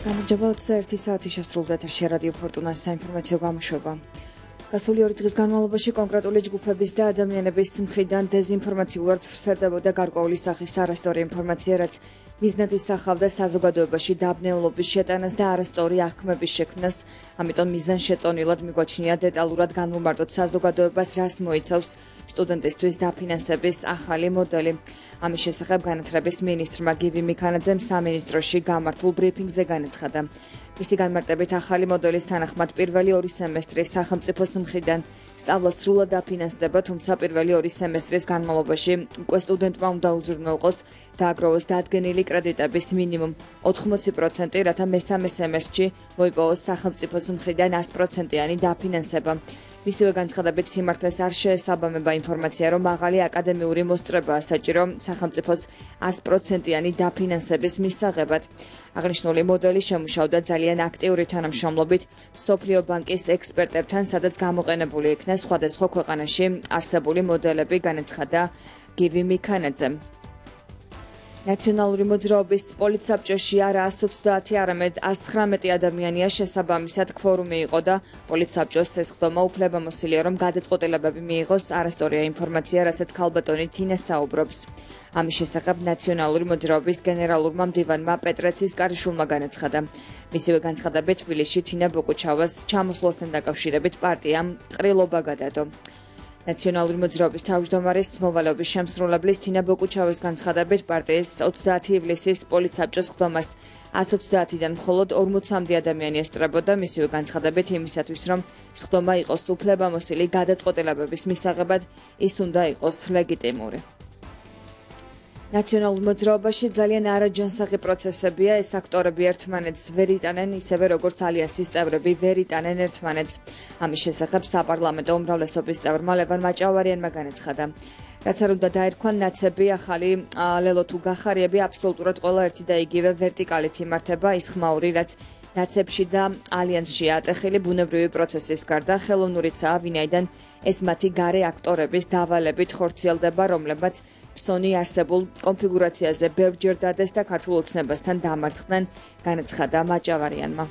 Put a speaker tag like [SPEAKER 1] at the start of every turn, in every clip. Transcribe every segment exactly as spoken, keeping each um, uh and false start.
[SPEAKER 1] გამარჯობა, ოცდაერთი საათი შესრულდა ეთერში რადიო ფორტუნას საინფორმაციო გამოშვება. გასული ორი დღის განმავლობაში კონკრეტული ჯგუფების და ადამიანების მხრიდან დეზინფორმაციულად ვრცელდებოდა გარკვეული სახის არასწორი ინფორმაცია, რაც მიზნად ისახავდა საზოგადოებაში დაბნეულობის შეტანას და არასწორი აღქმების შექმნას, ამიტომ მიზანშეწონილად მიგვაჩნია დეტალურად განვუმარტოთ საზოგადოებას, რას მოიცავს სტუდენტისთვის დაფინანსების ახალი მოდელი. ამის შესახებ განათლების მინისტრმა გივი მიქანაძემ სამინისტროში გამართულ ბრიფინგზე განაცხადა. მისი განმარტებით ახალი მოდელის თანახმად პირველი ორი სემესტრი სახელმწიფოს მხრიდან სწავლა სრულად დაფინანსდება, თუმცა პირველი ორი სემესტრის განმავლობაში უკვე სტუდენტმა უნდა უზრუნველყოს დააგროვოს დადგენილი კრედიტების მინიმუმ ოთხმოცი პროცენტი, რათა მესამე სემესტრში მოიპოვოს სახელმწიფოს მხრიდან ას პროცენტიანი დაფინანსება. მისივე განცხადებით სიმართლეს არ შეესაბამება ინფორმაცია, რომ მაღალი აკადემიური მოსწრებაა საჭირო სახელმწიფოს ას პროცენტიანი დაფინანსების მისაღებად. აღნიშნული მოდელი შემუშავდა ძალიან აქტიური თანამშრომლობით მსოფლიო ბანკის ექსპერტებთან, სადაც გამოყენებული იქნა სხვადასხვა ქვეყანაში არსებული მოდელები, განაცხადა გივი მიქანაძემ. ნაციონალური მოძრაობის პოლიტსაბჭოში არა ას ოცდაათი, არამედ ას ცხრამეტი ადამიანია შესაბამისად ქვორუმი იყო და პოლიტსაბჭოს ესხდომა უფლებამოსილია, რომ გადაწყვეტილებები მიიღოს. არასწორია ინფორმაცია, რასაც ქალბატონი თინა საუბრობს. ამის შესახებ ნაციონალური მოძრაობის გენერალურმა მდივანმა პეტრე ცისკარიშვილმა განაცხადა. მისივე განცხადებით თბილისში თინა ბოკუჩავას ჩამოსვლასთან დაკავშირებით პარტიამ ყრილობა გადადო. ნაციონალური მოძრაობის თავმჯდომარის მოვალეობის შემსრულებლის თინა ბოკუჩავას განცხადებით პარტიის ოცდაათი ივლისის პოლიტსაბჭოს ხდომას ას ოცდაათიდან მხოლოდ ორმოცამდე ადამიანი ესწრებოდა. მისივე განცხადებით იმისათვის, რომ ხდომა იყოს უფლებამოსილი გადაწყვეტილებების მისაღებად, ის უნდა იყოს ლეგიტიმური. ნაციონალურ მოძრაობაში ძალიან არაჯანსაღი პროცესებია, ეს აქტორები ერთმანეთს ვერ იტანენ, ისევე როგორც ალიანსის წევრები ვერ იტანენ ერთმანეთს. ამის შესახებ საპარლამენტო უმრავლესობის წევრმა ლევან მაჭავარიანმა განაცხადა. რაც არ უნდა დაერქვან ნაცები, ახალი ლელო თუ გახარიები აბსოლუტურად ყველა ერთი და იგივე ვერტიკალით იმართება, ის ხმაური, რაც ნაცებში და ალიანსშია ატეხილი ბუნებრივი პროცესის გარდა ხელოვნურიცაა, ვინაიდან ეს მათი გარე აქტორების დავალებით ხორციელდება, რომლებაც ფსონი არსებულ კონფიგურაციაზე ბევრჯერ დადეს და ქართულ ოცნებასთან დამარცხდნენ, განაცხადა მაჭავარიანმა.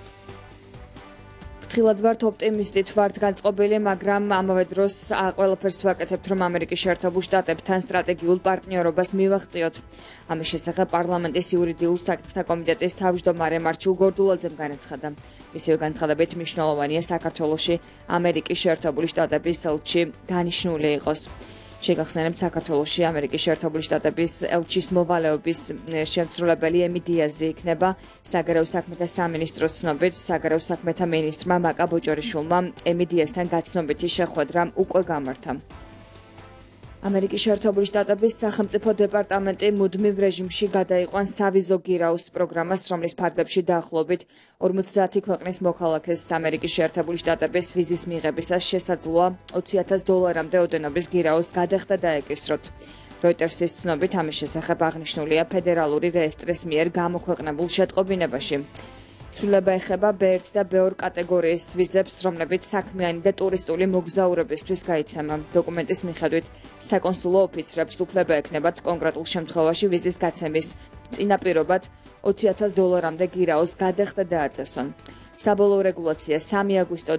[SPEAKER 1] ფრთხილად ვართ ოპტიმისტით ვართ განწყობილი, მაგრამ ამავე დროს ყველაფერს ვაკეთებთ, რომ ამერიკის შეერთებულ შტატებთან სტრატეგიულ პარტნიორობას მივაღწიოთ. ამის შესახებ პარლამენტის იურიდიულ საკითხთა კომიტეტის თავმჯდომარე მარჩილ გორდულაძემ განაცხადა. მისივე განცხადებით მნიშვნელოვანია საქართველოში ამერიკის შეერთებული შტატების ელჩი დანიშნული იყოს. შეგახსენებთ, საქართველოში ამერიკის შეერთებული შტატების ელჩის მოვალეობის შემსრულებელი ემი დიაზი იქნება. საგარეო საქმეთა სამინისტროს ცნობით, საგარეო საქმეთა მინისტრმა მაკა ბოჭორიშვილმა ემი დიაზთან გაცნობითი შეხვედრა უკვე გამართა. ამერიკის შეერთებული შტატების სახელმწიფო დეპარტამენტი მუდმივ რეჟიმში გადაიყვანს სავიზო გირაუს პროგრამას, რომლის ფარგლებში დაახლოებით ორმოცდაათი ქვეყნის მოქალაქეს ამერიკის შეერთებული შტატების ვიზის მიღებისას შესაძლოა ოცი ათას დოლარამდე ოდენობის გირაუს გადახდა დაეკისროთ. როიტერსის ცნობით ამის შესახებ აღნიშნულია ფედერალური რეესტრის მიერ გამოქვეყნებულ შეტყობინებაში. ცვლილება ეხება ბე ერთ და ბე ორ კატეგორიის ვიზებს, რომლებიც საქმიანი და ტურისტული მოგზაურებისთვის გაიცემა. დოკუმენტის მიხედვით საკონსულო ოფიცრებს უფლება ექნებათ კონკრეტულ შემთხვევაში ვიზის გაცემის წინაპირობად ოცი ათას დოლარამდე გირაოს გადახდა დააწესონ. საბოლოო რეგულაცია სამი აგვისტო